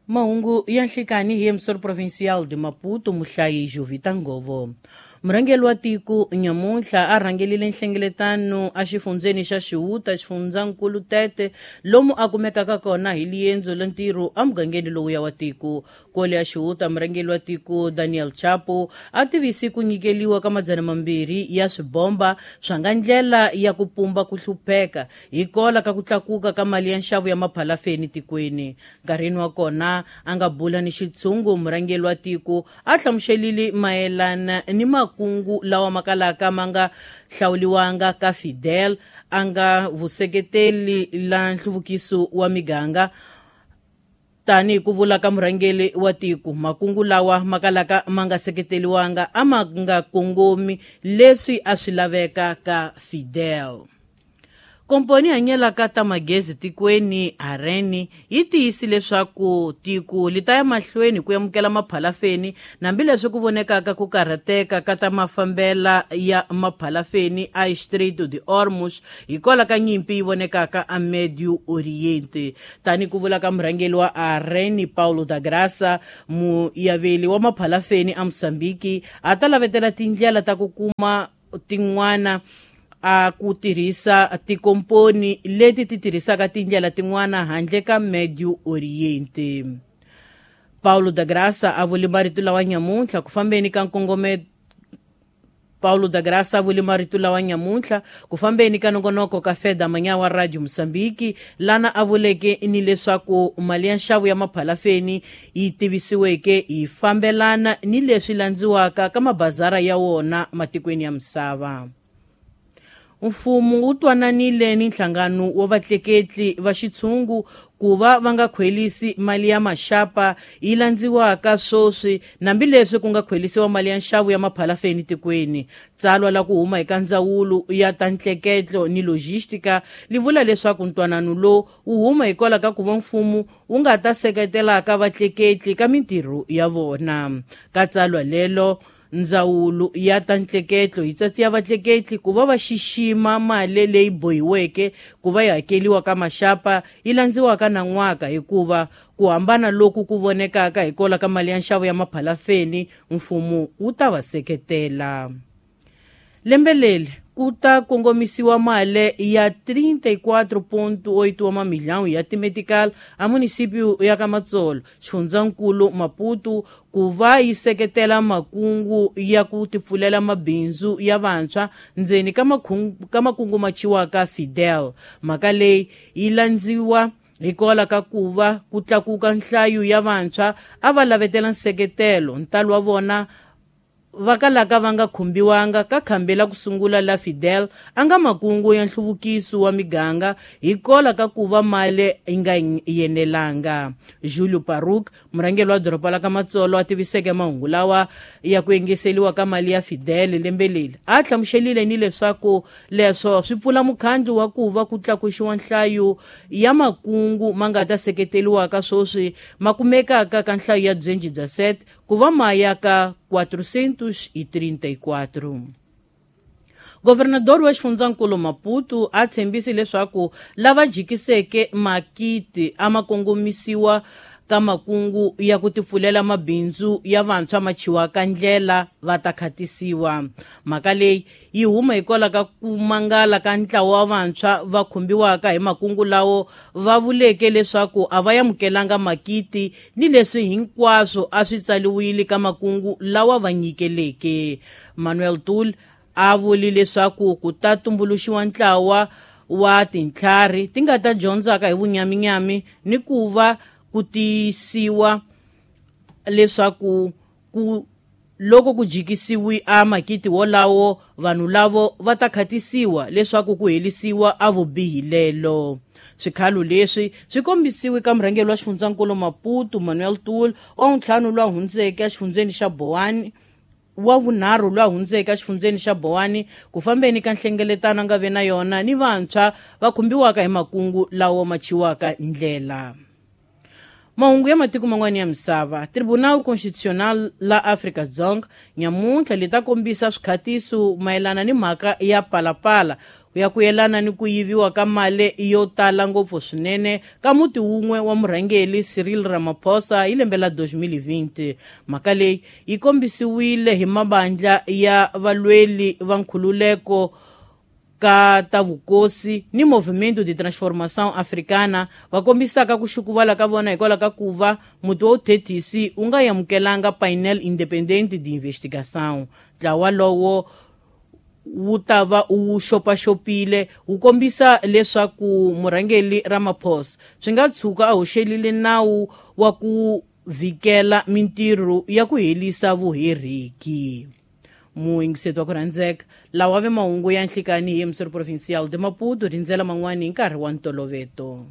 Mahungu ya nhlikani hi emissor provincial de Maputo muhlayi Jovita Ngovo. Murhangeri wa tiko nyamuntlha a rhangelile nhlengeletano exifundzeni xa Xihuta xifundzankulu Tete lomu a kumekaka kona hi liendzo la ntirho emugangeni lowuya wa tiko. Kwale ya Xihuta murhangeri wa tiko Daniel Chapo a tivisi ku nyikeliwa ka 200 ya swibomba swa nga ndlela ya ku pumba ku hlupheka hikola ka ku tlakuka ka mali ya nxavo ya maphalafeni tikweni. Nkarhini wa kona a nga bula ni xitshungu murhangeri wa tiko a hlamuselile mayelana ni makungu lawa makalaka ma nga hlawuliwanga ka Fidel a nga vuseketeli la nhluvukiso wa miganga tanihi ku vula ka murhangeri wa tiko. Makungu lawa makalaka ma nga seketeliwanga a ma nga kongomi leswi a swi laveka ka Fidel. Komponi hanyelaka ta magezi tikweni Areni yi tiyisi leswaku tiko li ta ya mahlweni ku amukela maphalafeni hambileswi ku vonekaka ku karhateka ka ta mafambela ya maphalafeni a Strait de Hormuz hikwalaho ka nyimpi yi vonekaka a Medio Oriente. Tani ku vula ka murhangeri wa Areni Paulo da Graça, muyaveli wa maphalafeni a Mozambique a ta lavetela tindlela ta ku kuma tin'wana a ku tirhisa tikomponi leti ti tirhisaka tindlela tin'wana handle ka Medio Oriente. Paulo da Graça a vule marito lawa nyamuntlha ku fambeni ka nkongometo Paulo da Graça a vule marito lawa nyamuntlha ku fambeni ka nongonoko ka Feda Manyawa Radio Mozambique lana a vuleke ni leswaku mali ya nxavo ya maphalafeni yi tivisiweke yi fambelana ni leswi landziwaka ka mabazara ya wona matikweni ya misava. Mfumo wu twananile ni nhlangano wa vatleketli va xitshungu ku va va nga khwelisi mali ya maxapa yi landziwaka sweswi hambileswi ku nga khwelisiwa mali ya nxavo ya maphalafeni tikweni. Tsalwa la ku huma eka ndzawulo ya ta ntleketlo ni logistika li vula leswaku ntwanano lowu wu huma hikwalaho ka ku va mfumo wu nga ta seketelaka vatleketli ka mintirho ya vona. Ka tsalwa lelo ndzawulo ya ta ntleketlo yi tsatsiya vatleketli ku va va xixima mali leyi bohiweke ku va yi hakeliwa ka maxapa yi landziwaka na n'waka hikuva ku hambana loku ku vonekaka hikwalaho ka mali ya nxavo ya maphalafeni mfumo wu ta va seketela. Lembe leri ku ta kongomisiwa mali ya 34.8 wa mamilhão ya timedical a munisipio ya ka Matsolo xifundzankulu Maputo ku va yi seketela makungu ya ku tipfulela mabindzu ya vantshwa ndzeni ka makungu ma chiwaka Fidel. Mhaka leyi yi landziwa hikwalaho ka ku va ku tlakuka nhlayo ya vantshwa a va lavetela nseketelo ntalo wa vona va kalaka va nga khumbiwanga ka khambi la ku sungula la Fidel a nga makungu ya nhluvukiso wa miganga hikwalaho ka ku va mali yi nga yenelanga. Julio Paruk murhangeri wa doroba la ka Matsolo a tiviseke mahungu lawa ya ku engeseliwa ka mali ya Fidel lembe leri a hlamuselile ni leswaku leswo swi pfula mukhandlu wa ku va ku tlakuxiwa nhlayo ya makungu ma nga ta seketeliwaka sweswi ma kumekaka ka nhlayo ya byenji bya set ku va maya ka 434. Governador wa xifundzankulu Maputo a tshembisi leswaku lava jikiseke makiti a ma kongomisiwa ka makungu ya ku tipfulela mabindzu ya vantshwa ma chiwaka ndlela va ta khatisiwa. Mhaka leyi yi huma hikwalaho ka ku mangala ka ntlawa wa vantshwa va khumbiwaka hi makungu lawo va vuleke leswaku a va amukelanga makiti ni leswi hinkwaswo a swi tsaliwile ka makungu lawa va nyikeleke. Manuel Tul a vuli leswaku ku ta tumbuluxiwa ntlawa wa tintlhari ti nga ta dyondzaka hi vunyaminyami ni ku va ku tiyisiwa leswaku ku loko ku jikisiwi a makiti wolawo vanhu lavo va ta khatisiwa leswaku ku helisiwa a vubihi lelo. Swikhalo leswi swi kombisiwe ka murhangeri wa xifundzankulu Maputo Manuel Tul wa ntlhanu lwa hundzeke exifundzeni xa Boane wa vunharhu lwa hundzeke exifundzeni xa Boane ku fambeni ka nhlengeletano a nga ve na yona ni vantshwa va khumbiwaka hi makungu lawa ma chiwaka ndlela. Mahungu ya matiko man'wana ya misava. Tribunal Constitucional la Afrika-Dzonga nyamuntlha li ta kombisa swikhatiso mayelana ni mhaka ya Palapala ku Ya ku yelana ni ku yiviwa ka mali yo tala ngopfu swinene ka muti wun'we wa murhangeri Cyril Ramaphosa hi lembe la 2020. Mhaka leyi yi kombisiwile hi mabandla ya valweli va nkhululeko ka ta vukosi ni Movimento de Transformação Africana, va kombisaka ku xukuvala ka vona hikwalaho ka ku va muti wa vuthethisi wu nga amukelanga painel independente de investigação. Ntlawa lowo wu ta va wu xopaxopile wu kombisa leswaku murhangeri Ramaphosa swi nga tshuka a hoxelile nawu wa ku vhikela mintirho ya ku herisa vuheriki. Muyingiseti wa ku rhandzeka, lawa ve mahungu ya nhlikani hi Emissor Provincial de Maputo. Rindzela man'wani hi nkarhi wa ntoloveto.